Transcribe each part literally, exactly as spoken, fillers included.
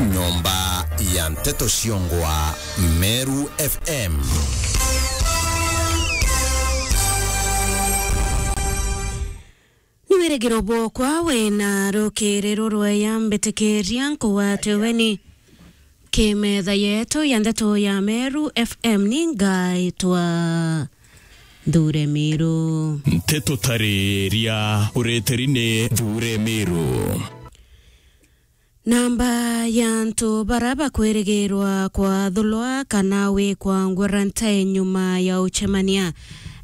Nyomba ya nteto ciongwa Meru F M. Ni wirigiro bwokwa wina rukiri rurweya, mbitikiria nkugwate ugeni ki metha yetu ya ndeto ya Meru F M. Ni ngaitwa Nthure Miru. Nteto tariria ureteri ni Nthure Miru. Namba ya antu bara bakwirigirwa kwathulwa kana wikwa quarantine nyuma ya ucemania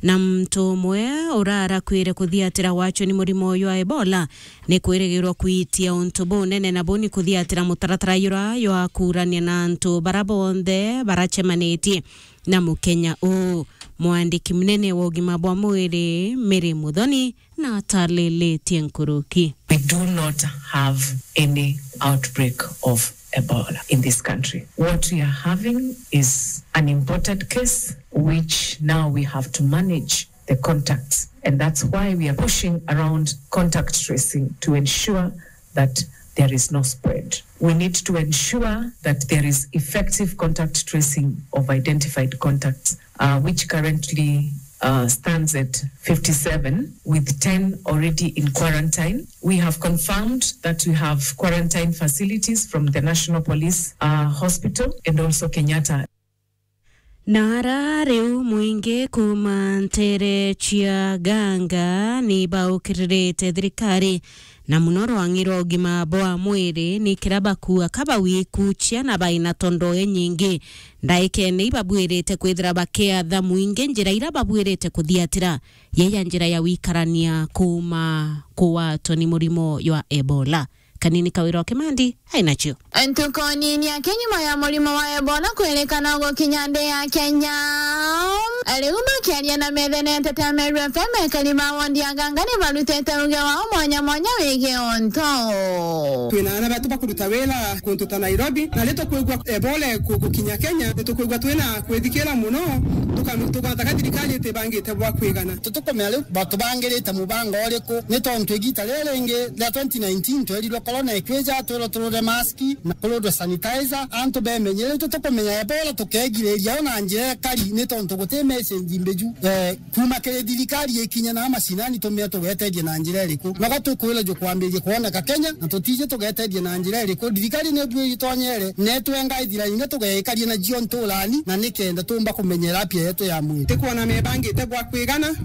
na muntu umwe urarakwire kuthiatira gwachwa ni murimo uyu wa Ebola ni kwirigirwa kwitia untu bunene, na buu ni kuthiatira mutaratara jura jwa kuurania na antu bara bonthe baracemanitie na mukenya uu. Mwandiki munene wa ugima bwa mwiri, Mary Muthoni, na atalilitie nkuruki. We do not have any outbreak of Ebola in this country. What we are having is an imported case, which now we have to manage the contacts. And that's why we are pushing around contact tracing to ensure that there is no spread. We need to ensure that there is effective contact tracing of identified contacts, uh, which currently, uh, stands at fifty-seven, with ten already in quarantine. We have confirmed that we have quarantine facilities from the National Police, uh, Hospital and also Kenyatta. Na ara riu mwingi kuuma ntere cia Ganga ni baukiririte thirikari, na muno rwang'i rwa ugima bwa mwiri, ni kira bakua ka bawikucia na baina tondo inyingi. Ndaikene ibabwirite kwithira bakiatha mwingi njira ira babwirite kuthiatira, yeya njira ya wikarania kuuma kugwatwa ni murimo jwa Ebola. Kanini Kawira o Kimandi ainacio. Ntuku nini aki nyuma ya murimo wa Ebola kwirikana gukinya nthi ya Kenya, riu bakiaria na metha ya nteto ya Meru F M, ekari ba wondi ya Ganga ni barutite uge wao mwanya mwanya wigii untu. Twina aana betu bakuruta wira kuntu ta Nairobi, na ri tukwigua Ebola iku-, gukinya Kenya, ni tukwigua twina kwithikira muno, tuka-, tugataka thirikari itibangite bwa kwigana. Tutikumenya riu batubangirite mubango uriku, ni tontu igita riri ringi ria twenty nineteen twerirwe corona ikwija, twirwe turure maski na kururwe sanitizer, antu bemenye. Riu tutikumenya Ebola tukegiriria o na njira ikari, ni tontu guti message mbiju, eh, kuuma kiri thirikari ikinya na macinani tumie tugeteria na njira iriku. Noga tukwirwa jukwambiria kwoneka Kenya, na tutiji tugeteria na njira iriku. Thirikari ni bu itonyere, netwenga ithira ingi tugeikaria nacio nturani, na nikenda tumba kumenyera afya yetu ya mwiri. Tikwona mebangite bwa kwigana,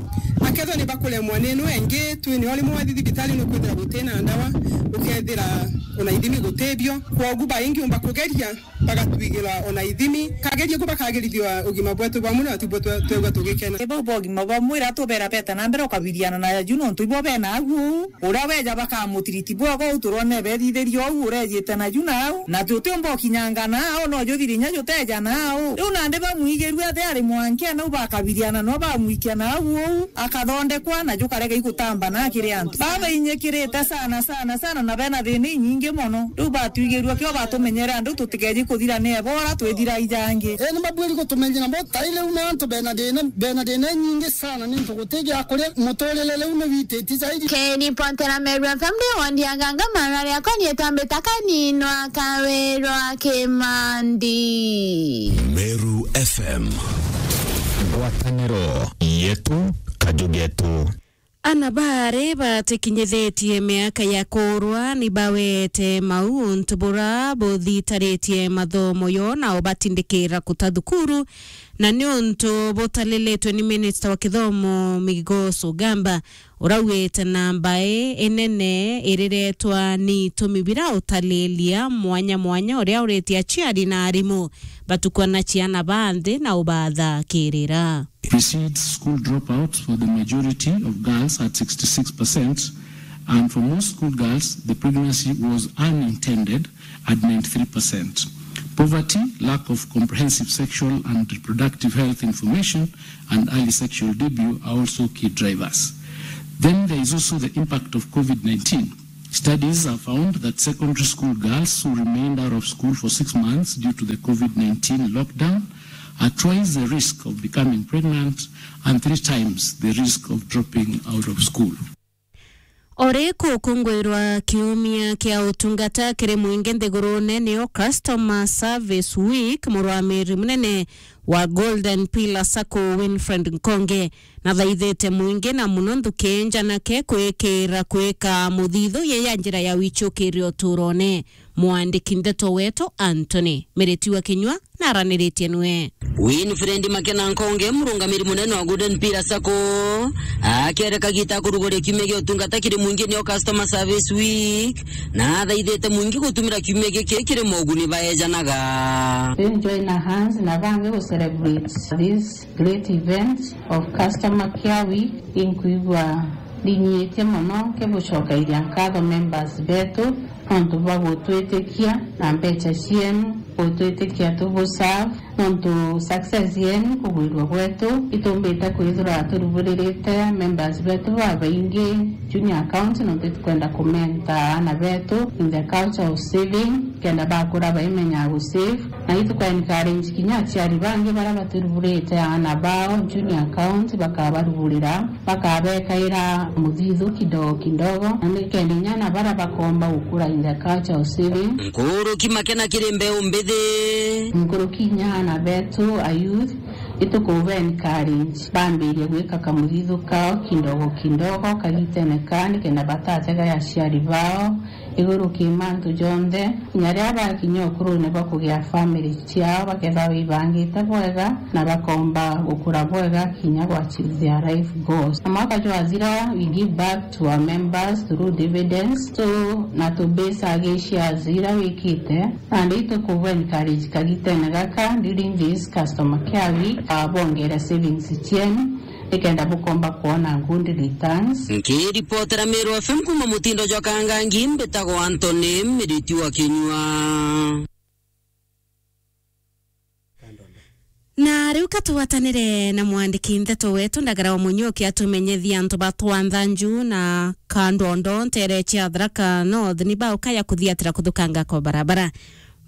akethwa ni bakuremwa ni ino ingi, twinio rimwe wathi thibitari nukwithira gutina ndawa, ukethira ona ithimi gutibio. Kwogu baingi umba kugeria bagatwigira ona ithimi. Kageria ku bakagirithia ugima bwetu bwa mwiri, na tibwo twe-, twegua tugikena. Ibo bwa ugima bwa mwiri atubera beta na mbere ukabiriana na aju, nontu ibo bena agu uu. Uria weja bakamutiriti bwega uu, turone bethithirie uu urejite naju nau, na tutiumba ukinyanga nau, no juthiri inya juteja nau. Riu nandi bamwigirue athi ari mwankia nau, bakabiriana no bamwikia nau uu, akathondekwa na jukarega igutamba na kiri antu. Babainyikirite sana, sana, sana, na bena thina inyingi mono. Riu batwigirue kio batumenyere andu tutikeji kuthira ni Ebola, twithira ijangi. Ii, ni babwiri gutumenyera bo tai riu ni antu bena thina, bena thina inyingi sana, ni ntu guti gia kuria, muturire riu ni wititie zaidi. Keni Pontera, Meru F M, ndi wondi ya Ganga, mara riakwa ni itambita Kanini wa Kawirwa Kimandi. Meru F M. Ngwataniro yetu, kaju getu. Ana baari batikinyithitie miaka ya kuurwa ni bawete mau untu bura buthitaritie mathomo yo na ubatindikira kuta thukuru, na ni untu butalilitwe ni minista wa kithomo Migos Ogamba, uraugite namba ii inene iriretwa ni itumi bira utalilia mwanya mwanya uria uritie aciari na arimu batukua na ciana ba nthi na ubathakirira. Precedes school dropouts for the majority of girls at sixty-six percent, and for most school girls, the pregnancy was unintended at ninety-three percent. Poverty, lack of comprehensive sexual and reproductive health information, and early sexual debut are also key drivers. Then there is also the impact of COVID nineteen. Studies have found that secondary school girls who remained out of school for six months due to the COVID nineteen lockdown are twice the risk of becoming pregnant and three times the risk of dropping out of school. O ri gukungwirwa kiumia kia utungata kiri mwingi nthigurune, niyo Customer Service Week, murwamiri munene wa Golden Pillar Sacco, Winfred Nkonge, nathaithite mwingi na muno nthuki njanake kwikira kwika muthithu ye ya njira ya wichukirio uturone. Mwandiki ndeto wetu Anthony Miriti wa Kinyua naraniritie nwe. Winfred Makena Nkonge, murungamiri munene wa Golden Pillar Sacco, akiere kagita kuruguria kiumia gia utungata kiri mwingi, niyo Customer Service Week, na athaithite mwingi gutumira kiumia giki kiri moguni baejanaga. Then join our hands na bangi gu celebrate this great event of Customer Care Week. Inkwigua ndinyiitie mono nkigucokairia nkatho members betu nontu bwa gutwitikia na mbecha cienu, gutwitikia tubu serve, nontu success yenu kugwirua gwetu, itumbite kwithirwa turuburirite members betu babaingi junior account, nontu itukwenda kumenta aana betu in the culture of saving, kenda bakura baimenyaga gu save. Na itukwa encourage kinya aciari bangi baria baturuburite aana bao junior account, bakabaruburira, bakabekaira muthithu kidogo kidogo, na nikenda inya na baria bakomba gukura in the culture of saving. Nkuruki Makena kiri mbeu mbithi. Nkuruki inya aana betu a youth, itukuba encourage bambirie gwika kamuthithu kao kidogo kidogo kagitene kaa, nikenda batatega aciari bao iguru ki mantu jonthe, kinya riria bakinya ukurune bwa kugia family ciao, bakethagwa bibangite bwega na bakomba gukura bwega kinya gwa achieve their life goals. Na mwaka jwathira, we give back to our members through dividends, so na tu base agi shares iria wikite, nandi itukubu encourage kagitene gaka during this customer care week, ah, bongere savings cienu, nikenda bukomba kwona good returns. Nkiripotera Meru F M kuma mutindo jwa Kangangi, mbitagwa Anthony Miriti wa Kinyua. Na riu ka tugwatanire na mwandiki ndeto wetu Ndagara wa Munyoki atumenyethie antu ba Twanthanju na Kandondo ntere cia Tharaka North ni bauka ya kuthiatira kuthukanga kwa barabara.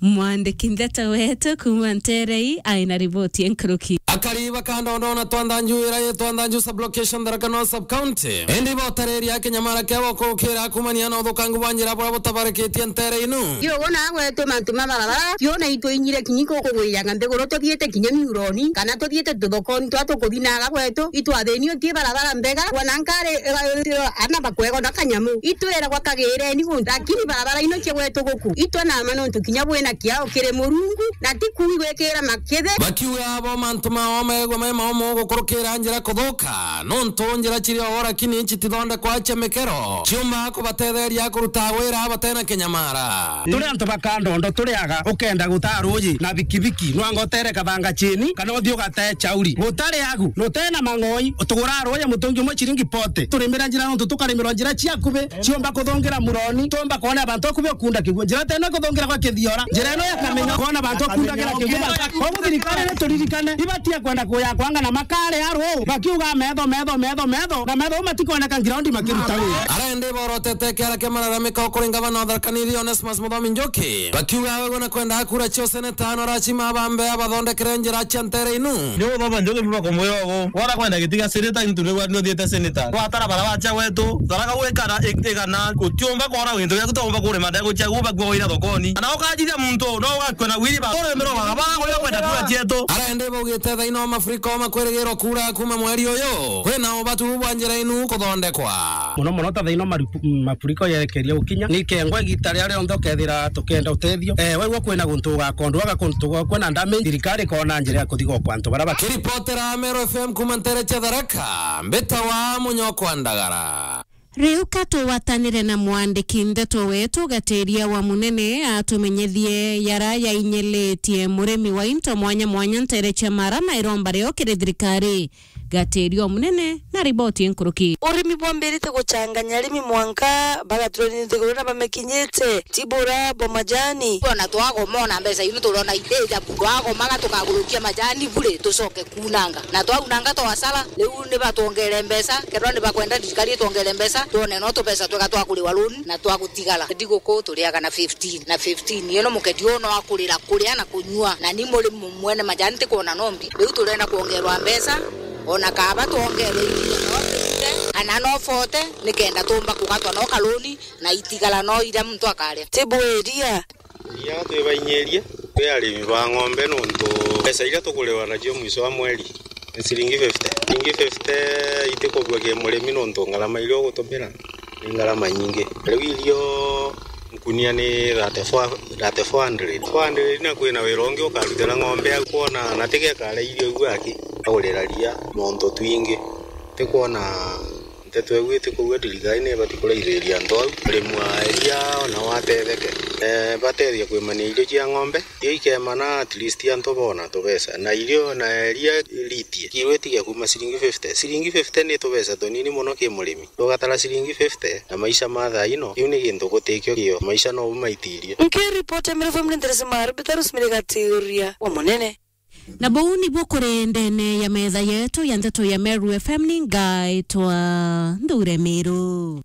Mwandiki ndeto wetu kuma Nterei aina riboti enkuruki. Akari ba Kandondo na Twanthanju, ira i Twanthanju sub-location, Tharaka North sub-county, indi ibotareria kinyamara kia gukukira kumania na uthukangu bwa njira buria butabarikitie ntere inu. Ti uguo na gwetu mantu ma barabara, ti ona itwinyire kinya kugwiyanga nthiguru tuthiite kinya miuroni, kana tuthiite tuthokoni twa tukuthinaga gwetu, itwathinio ti barabara mbega, wana nkari, eh, eh, ana bakwegwa na kanyamu. Itwiragwa kagireni guntu, lakini barabara ino cia gwetu guku, itwe nama nontu kinya bwina kiao kiri Murungu, na ti kuigwikira makithi. Bakiuga abo mantu mao megwa mai maumu gukurukira njira kuthuka, nontu njira ciri o lakini citithondekwa cia mikero, ciumba kubatetheria kuruta wira batena kinyamara. Turi antu ba Kandondo turiaga, ukenda gutaa ruuji na bikibiki, nwanga utere kathanga chini, kana uthii ugatee chauri. Gutari agu, nutena mang'oi, utuguraa ruuji mutungi umwe chiringi forty. Turimira njira nontu tukarimirwa njira cia akubi, ciumba kuthungira muroni, tumba kwona abantu akubi ukunda kigua. Njira tene kuthungira gwa kithiora, njira ino ya kamenya, kwona abantu akunda kira kigua. Koguo thirikari ni turirikane, ibatie kwenda kuya kwanga na makare aru, bakiuga metho, metho, metho, metho, na metho matikoneka ground makiruta wira. Arende borotete kiara kia malalamiko kuri ngavana wa Tharaka Nithi Onesmus Muthomi Njuki, bakiuga we na kwenda kura cia useneta no rachima bambe abathondekere njira cia ntere inu. Ni uthoma Njuki biba kumwira ugu, wona kwenda giti gia seneta, into ni gwa ndio thiete seneta. Watara bara wacha wetu, Tharaka gwikara ik-, igana, utiumba kwona wintu giaku, tiumba kurima ndegu ciaku, bakua wira thokoni. Kana ukajithia muntu, no ugakua na wiri ba. Ore mero ba, ba, kwenda kura cietu. Arende baugite thaino mafuriko makwirigirwo kura kuma mweri uyu. Kwina ubatu bwa njira inu kuthondekwa. Muno muno ta thaino maripu-, mafuriko yerekeria gukinya, ni kengwa igita ria rionthe ukethira tukienda utethio. Eh, waigua kwina guntu ugakondwaga kuntu gwa kwina ndame, thirikari ikona njira ya kuthiga kwa antu bara ba. Kiripotera Meru F M kuma ntere cia Tharaka, mbita wa Munyokwa Ndagara. Riu ka tugwatanire na mwandiki ndeto wetu Gatiria wa Munene atumenyethie yara yainyilitie murimi wa into mwanya mwanya ntere cia mara na iromba rio kiri thirikari. Gatiria o munene na riboti nkuruki. Urimi bwambirite guchanganya arimi mwanka bagaturania nthiguru na bamekinyite Tibura bwa majani. Ona twagoma ona mbeca inu turona iteja, twagomaga tukagurukia majani bure tucoke kunanga. Na twaunanga twasara, riu ni batwongere mbeca, kethirwa ni bakwenda thirikari itwongere mbeca, twone no tubeca twega twa kuriwa loan na twa gutigara. Thiguku turiaga na fifteen, na fifteen. Iyo no muketi uyu no akurira kuria na kunyua, na ni muri mu-, mwene majani tikwona no mbi. Riu turenda kwongerwa mbeca, ona kaba twongere iria no twite, Na no forty nikenda tumba kugatwa no kaluni na itigara no iria muntu akaria. Tibu iria. Iria twibainyirie kwi arimi ba ng'ombe nontu mbeca iria tuguriwa nacio mwico wa mweri ni ciringi fifty. Ciringi fifty itikubua ki murimi nontu ngarama iria ugutumira ni ngarama nyingi. Riu irio nkunia ni thirty-four, thirty-four hundred. Four hundred na kwina wira ungi ukarutira ng'ombe au kwona na tigekare irio iu aki agurira ria nontu twingi. Tikwona nteto iu itikuuga thirikari ni ibati kuraithiriria antu au. Murimi wa iria ona watetheke, eh, batethia kwimania irio cia ng'ombe, irio ikemana at least antu bona tubeca. Na irio na iria ritie, kiro itige kuuma ciringi fifty. Ciringi fifty ni tubeca tunini mono ki murimi. Tugatara ciringi fifty na maisha ma thaa ino, kiu ni gintu gutikio kio. Maisha no bumaitirie. Nkiripoti ya Meru F M ni Theresa Maru, Peterus Mirigati uria wa munene. Na buu nibuo kuri ndene ya metha yetu ya nteto ya Meru F M, ni ngaitwa Nthure Miru.